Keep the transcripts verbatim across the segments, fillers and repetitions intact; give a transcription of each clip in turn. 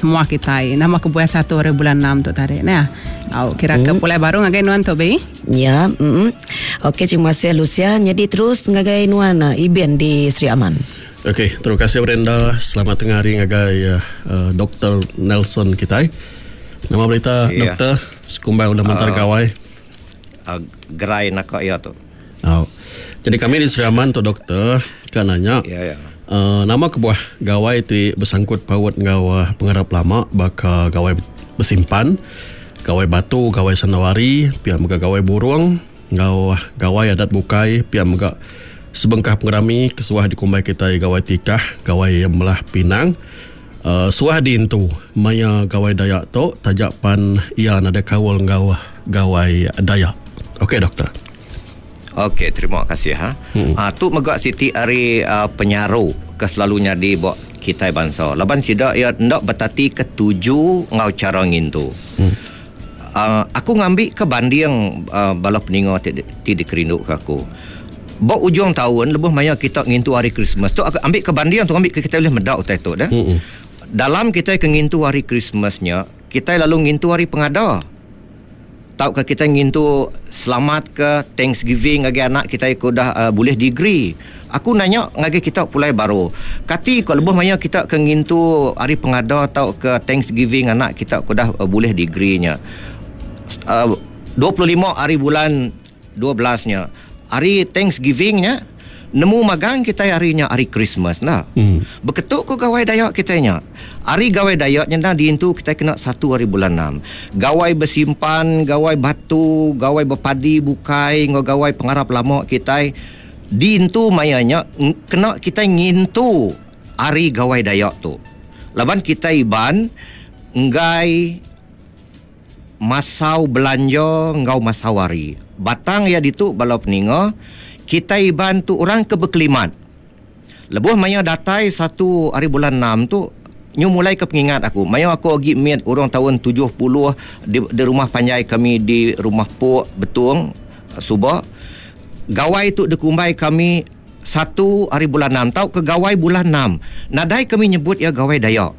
Semua kitai nama kebuah satu hari bulan enam tu tadi neh. Au kira ke pulai baru ngagai nuan tu bi. Ya, mm. Okey, terima kasih Lucia. Jadi terus ngagai nuan Ibin di Sri Aman. Okey, terima kasih Brenda. Selamat tengah hari ngagai uh, Doktor Nelson kitai. Nama berita yeah. Doktor sekumbang udah mentar uh, gawai. Uh, gerai nak iya tu. Oh. Jadi kami di Sri Aman tu doktor kan nanya. Ya yeah, ya. Yeah. Uh, nama kebuah gawai ti bersangkut paut ngau uh, pengarap lama baka gawai bersimpan, gawai batu, gawai sanawari, pihak mega gawai burung, ngau gawai adat bukai, pihak mega sebengkah pengerami kesuah dikumbai kita gawai tikah, gawai melah pinang. Uh, suah diintu maya gawai Dayak tu tajak pan ia nada kawal ngau gawai Dayak. Okey doktor. Okey, terima kasih ha. Hmm. Ah tu mega siti ari uh, penyaru ke selalunya di bok kitai bangsa. Laban sida ia ndak betati ketuju ngau cara ngintu. Hmm. Uh, aku ngambil ke banding uh, bala peninga ti, ti dikerindu ke aku. Bok ujung tahun lebuh maya kita ngintu hari Christmas. Tu aku ambil ke banding tu ambil ke kita boleh medak utai tu dah. Hmm. Dalam kita ke ngintu hari Christmasnya, kita lalu ngintu hari pengada. Tau ke kita ngintu selamat ke Thanksgiving ngagi anak kita ikut dah uh, boleh degree. Aku nanya ngagi kita pulai baru. Kati kalau lebuh maya kita ke ngintu hari pengada tau ke Thanksgiving anak kita ku dah uh, boleh degree-nya. Uh, dua puluh lima hari bulan dua belas-nya. Hari Thanksgiving-nya nemu magang kita harinya hari Christmas lah. Hmm. Beketuk ku gawai Dayak kitanya. Hari gawai Dayak nya diintu kita kena satu hari bulan enam. Gawai bersimpan, gawai batu, gawai berpadi bukai, ngau gawai pengarap lama kita diintu mayanya kena kita ngintu hari gawai Dayak tu. Laban kita iban enggai masau belanja ngau masau hari. Batang ya ditu balau peninga kita iban tu orang ke berkelimat. Lebuh maya datai satu hari bulan enam tu nyu mulai ke pengingat aku. Maya aku agi miat orang tahun tujuh puluh di, di rumah panjai kami di rumah Pok Betung Subak. Gawai tu dikumbai kami satu hari bulan enam tau ke gawai bulan enam. Nadai kami nyebut ya gawai Dayak.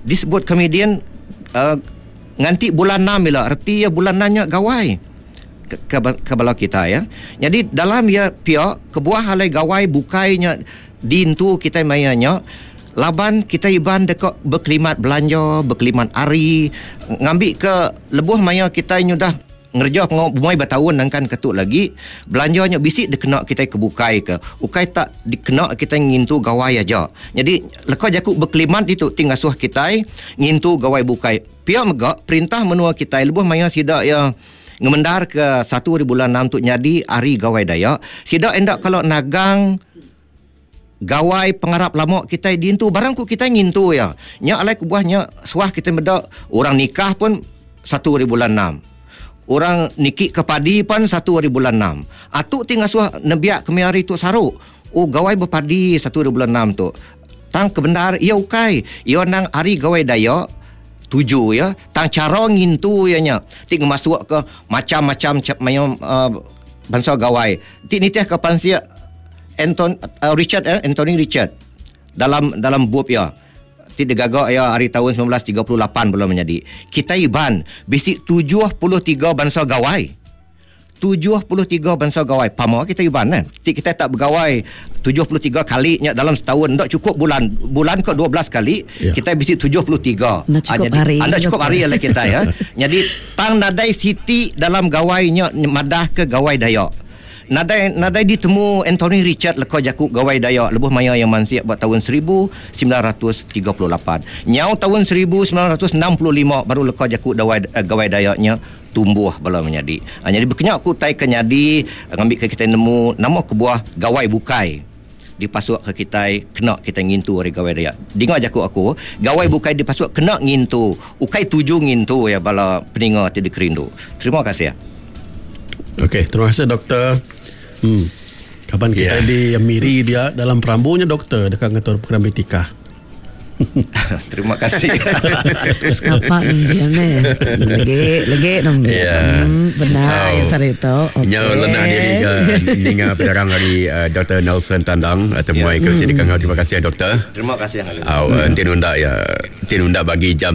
Disebut kami dian uh, nganti bulan enam bila erti ya bulan enam nya gawai. Ke, ke, ke bala kita ya. Jadi dalam ya pihak kebuah halai gawai bukainya dintu kita mayanya laban kita iban dekat berkelimat belanja, berkelimat hari, ngambil ke lebuh maya kita nyudah ngerja pengau bumai bertahun nangkan ketuk lagi belanjanya bisik dikena kita kebukai ke ukai tak dikena kita ngintu gawai aja. Jadi leka jaku berkelimat itu tinggal suah kita ngintu gawai bukai. Pihak mega perintah menua kita lebuh maya sida ya ngemendar ke satu hari bulan enam tu jadi hari gawai Dayak. Sida endak kalau nagang gawai pengarap lama kita dintu barang ku kita ngintu ya. Nya alai kubuahnya suah kita medak orang nikah pun satu hari bulan enam. Orang niki ke padi pun satu hari bulan enam. Atuk tinggal suah nebiak kemi hari tu saruk. Oh gawai berpadi satu hari bulan enam tu. Tang kebenar ia ukai. Ia nang hari gawai Dayak tujuh ya. Tang cara ngintu ya nya. Tik masuk ke macam-macam mayo uh, bangsa gawai. Tik nitih ke pansia Anton uh, Richard eh, Anthony Richard dalam dalam bup ya. Tik digagak ya hari tahun sembilan belas tiga puluh lapan belum menjadi. Kita iban bisik tujuh puluh tiga bangsa gawai. tujuh puluh tiga bangsa gawai. Pama kita iban kan. Tik kita tak bergawai tujuh puluh tiga kali nya dalam setahun. Tak cukup bulan. Bulan ke dua belas kali ya. Kita bisik tujuh puluh tiga. Anda cukup ha, jadi, hari. Anda cukup hari lah kita ya. Jadi tang nadai siti dalam gawainya madah ke gawai Dayak. Nadai nadai ditemu Anthony Richard leka jaku gawai Dayak lebuh maya yang mansiak buat tahun seribu sembilan ratus tiga puluh lapan. Nyau tahun seribu sembilan ratus enam puluh lima baru leka jaku dawai, gawai Dayaknya tumbuh bala menjadi. Ha, jadi berkenyak aku tai kenyadi ngambil ke kita nemu nama kebuah gawai bukai dipasuk ke kita kena kita ngintu hari gawai Dayak. Dengar jaku aku, gawai bukai dipasuk kena ngintu, ukai tuju ngintu ya bala peninga ti dikerindu. Terima kasih ya. Okey, terima kasih doktor. Hmm. Kapan kita yeah. di Miri dia dalam perambunya doktor dekat ngatur program etika. Terima kasih. Apa dia ni? Lagi lagi nom. Ya. Benar Oh. yang sari itu. Okey. Nya lenah diri ke ninga penerang dari uh, Doktor Nelson Tandang atau muai ke sini kangau. Terima kasih doktor. Terima kasih. Au uh, tinunda ya tinunda bagi jam tu.